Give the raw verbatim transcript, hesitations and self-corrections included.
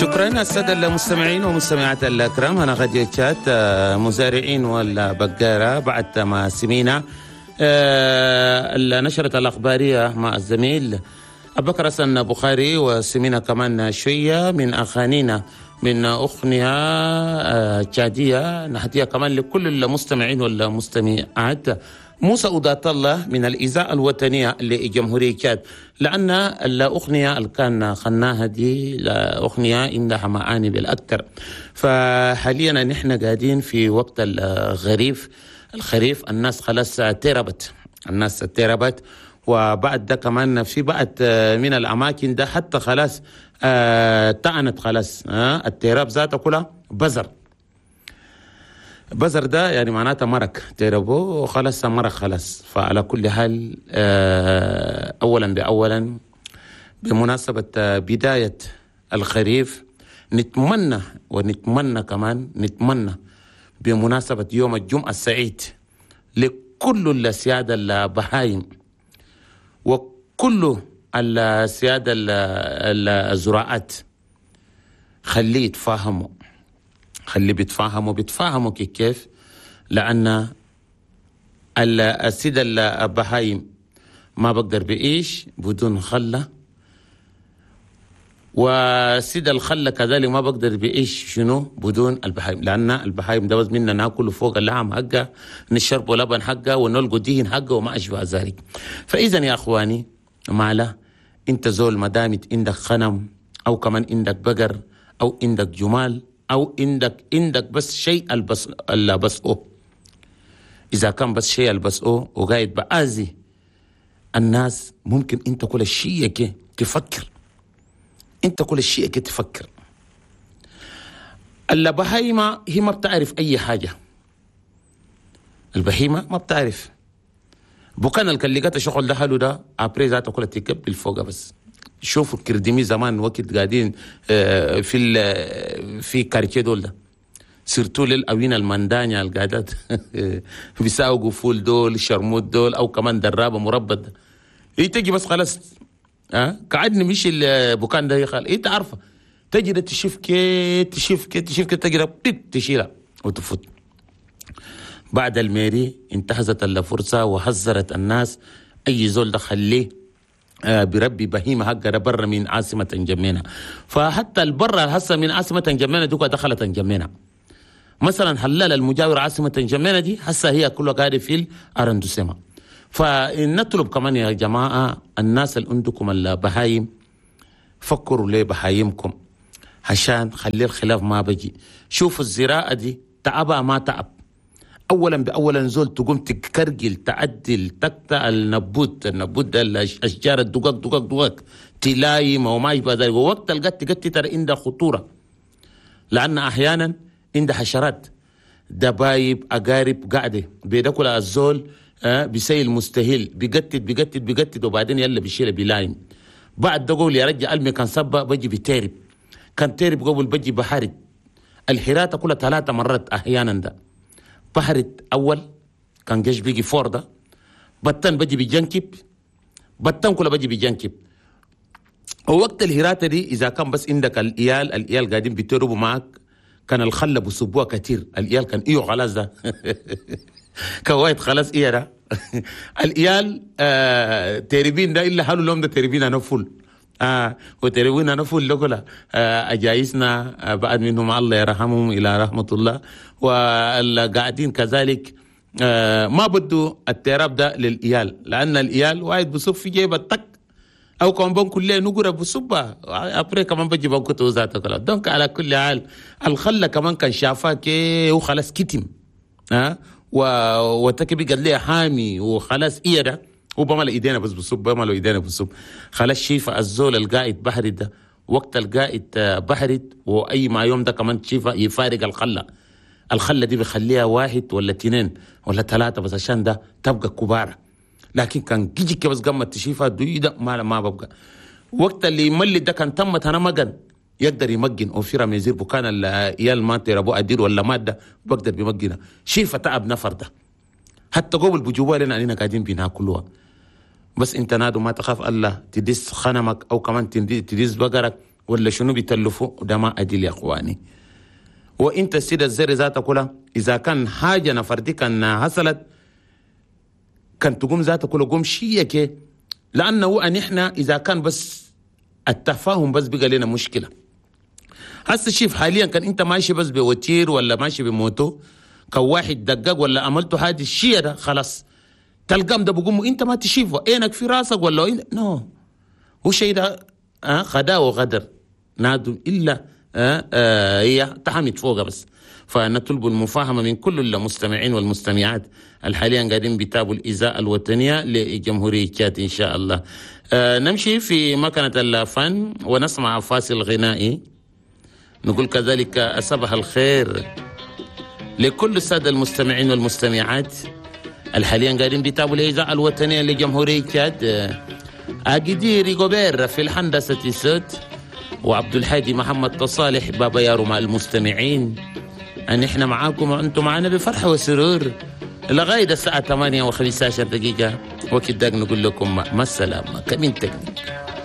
شكرا السادة المستمعين والمستمعات الكرام. هنا راديو تشاد، آه، مزارعين والبقارة. بعد ما سمينا آه، النشرة الأخبارية مع الزميل أبو بكر حسن بخاري، وسمينا كمان شوية من أغانينا من أغنية آه، تشادية نهديها كمان لكل المستمعين والمستمعات، موسى أودات الله من الإذاعة الوطنية لجمهورية تشاد، لأن الأغنية اللي كان غناها دي أغنية عندها معاني بالأكثر. فحاليا نحن قاعدين في وقت الخريف، الخريف الناس خلاص تربت، الناس تربت، وبعد ده كمان في بعض من الأماكن ده حتى خلاص آه تعنت خلاص، آه التراب ذاته كلها بزر بزر ده يعني معناته مرق تربو وخلاص مرق خلاص. فعلى كل حال آه، أولا بأولا بمناسبة بداية الخريف نتمنى ونتمنى كمان نتمنى بمناسبة يوم الجمعة السعيد لكل السيادة البهايم وكل السيادة الزراعات، خليه يتفاهموا، خلي بيتفاهموا بيتفاهموا كيف، لأن السيد البهايم ما بقدر بيعيش بدون خلة، وسيد الخلة كذلك ما بقدر بيعيش شنو بدون البهايم، لأن البهايم ده بس منا ناكل فوق اللحم حقه، نشرب لبن حقه، ونلقوا دهن حقه وما أشبه ذلك. فإذا يا أخواني معلا أنت زول ما دامت عندك غنم أو كمان عندك بقر أو عندك جمال أو عندك عندك بس شيء البس البس أو إذا كان بس شيء البس أو وقاعد بآذي الناس، ممكن أنت كل شيء كي تفكر، أنت كل شيء كي تفكر. البهيمة هي ما بتعرف أي حاجة، البهيمة ما بتعرف بكان الكليقات الشغل ده حلو ده après ذاته كلها تقبل فوق. بس شوفوا الكرديمي زمان وقت قاعدين آه، في ال- في quartier دول ده، surtout للأوين المندانيا القاعدات بيساوقوا فول دول شرموت دول او كمان درابه مربط ده. إيه تجي بس خلاص ها قاعد نمشي البكان ده يخال انت عارفه تجي ده تشوف كي تشوف كي تشوف كي تجي ده بيت تشيلها وتفوت. بعد ال mairie انتهزت الفرصة وحذرت الناس، أي زول ده خليه آه، بربي بهيمة حقه برا من عاصمة انجمينا. فحتى البرة هسه من عاصمة انجمينا دوكا دخلت انجمينا، مثلا حلال المجاور عاصمة انجمينا دي هسه هي كلها قاعدة في ال arrondissement. فنطلب كمان يا جماعة الناس اللي عندكم البهايم، فكروا ليه بهايمكم عشان خلي الخلاف ما بجي. شوفوا الزراعة دي تعبها ما تعب، اولا باولا زول تقوم تكرجل تعدل تقطع النبوت، النبوت ده الاشجار الدقق دقق دقق تلايم وما يشبه ذلك. ووقت القت قت ترى عندها خطوره، لان احيانا عندها حشرات دبايب اقارب قاعده بيدكل الزول آه بيسيل مستهيل بيقتت بيقتت بيقتت وبعدين يلا بيشيل بيلايم. بعد ده قول يا رجل المي كان سبا بجي بتيرب، كان تيرب قبل بجي بحرد الحراتة كلها ثلاثة مرات احيانا. ده بحرت اول كان جيش بيجي فور ده بطن بجي بيجنكب بطن كله بجي بيجنكب. ووقت الهراتة دي اذا كان بس عندك الإيال، الإيال قاعدين بيتربوا معك، كان الخلة بصبوها كتير الإيال كان ايوه خلاص ده كوايت خلاص ايه ده الإيال آه تربين ده الا حلو لهم ده تربين انا فل آه وتربين انا فل لكلا آه اجايسنا آه بعد منهم الله يرحمهم الى رحمة الله والقاعدين كذلك آه ما بدو التراب ده للإيال، لأن الإيال واحد بصب في جيبه تك او كمان بنكل ليه نقرا بصبة après كمان بجي بنكتو ذاته كلا. donc على كل حال الخلة كمان كان شافها كي وخلاص كتم ها و وتكبي قال لي حامي وخلاص ايه ده هو بمل ايدينا بس بصب بمل ايدينا بصب خلاص شيفا الزول القاعد بحري ده وقت القاعد بحرت واي ما يوم ده كمان شيفا يفارق الخلة، الخلة دي بيخليها واحد ولا اثنين ولا ثلاثة بس عشان ده تبقى كبارة. لكن كان جيجي بس قامت تشيفها دوي ده ما ما ببقى وقت اللي يملي ده كان تمت انا مجن يقدر يمجن او في رميزير بكان العيال ما تربو ادير ولا ماده بقدر بيمجنها شيفه تعب نفر ده حتى قبل بجوا لنا علينا قاعدين بناكلوها. بس انت نادو ما تخاف الله تدس خنمك او كمان تدس بقرك. ولا شنو بيتلفوا ده ما أدل يا اخواني. وانت السيدة الزر ذاتها كلها اذا كان حاجة نفردي كان حصلت كان تقوم ذاتها كلها قوم شيك، لانه ان احنا اذا كان بس التفاهم بس بقى لنا مشكلة. هسه شوف حاليا كان انت ماشي بس ب voiture ولا ماشي ب moto، كان واحد دقق ولا عملته حاجة الشيء ده خلاص تلقام ده بقوم انت ما تشوفه عينك في راسك ولا إن... non، هو شيء ده آه خداع وغدر نادم الا آه آه هي تحمد فوقها بس. فنطلب المفاهمة من كل المستمعين والمستمعات الحاليا قاعدين بيتابعوا الإذاعة الوطنية لجمهورية تشاد إن شاء الله. آه نمشي في مكنة الفن ونسمع فاصل غنائي. نقول كذلك صباح الخير لكل السادة المستمعين والمستمعات الحاليا قاعدين بيتابعوا الإذاعة الوطنية لجمهورية تشاد. أجدي ريغوبير في الهندسة الصوت، وعبد الحادي محمد تصالح بابا يارو مع المستمعين. أن إحنا معاكم وأنتم معنا بفرح وسرور لغاية الساعة ثمانية وخمسة عشر دقيقة، وكداك نقول لكم مع السلامة. كمين تكنيك.